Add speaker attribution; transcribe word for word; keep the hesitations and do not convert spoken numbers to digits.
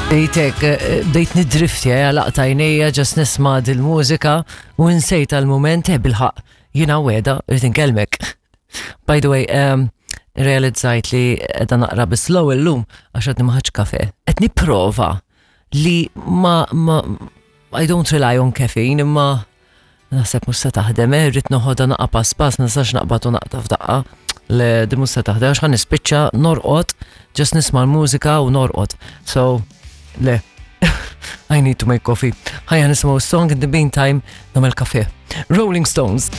Speaker 1: Bdejtek, eh, bdejt nidriftja, għalaqt għajnejja, just nisma' dil-mużika u nsejt għal-moment, eh, bil-ħaqq, jiena weda, rrid inkellmek. By the way, um, realizzajt li qiegħda naqra bi slow illum għax għadni ma ħadtx kafe. Qed nipprova li ma, ma, I don't rely on caffeine, imma naħseb mhux se taħdem, eh, rrid noħodha naqra pass pass, nistax naqbad u naqta' f'daqqa. Le, di mhux se taħdem, għax ħa nispiċċa norqod, just nisma' l-mużika u norqod. So, le, I need to make coffee. Ħajja nisimgħu song, in the meantime, nagħmel kafe. Rolling Stones.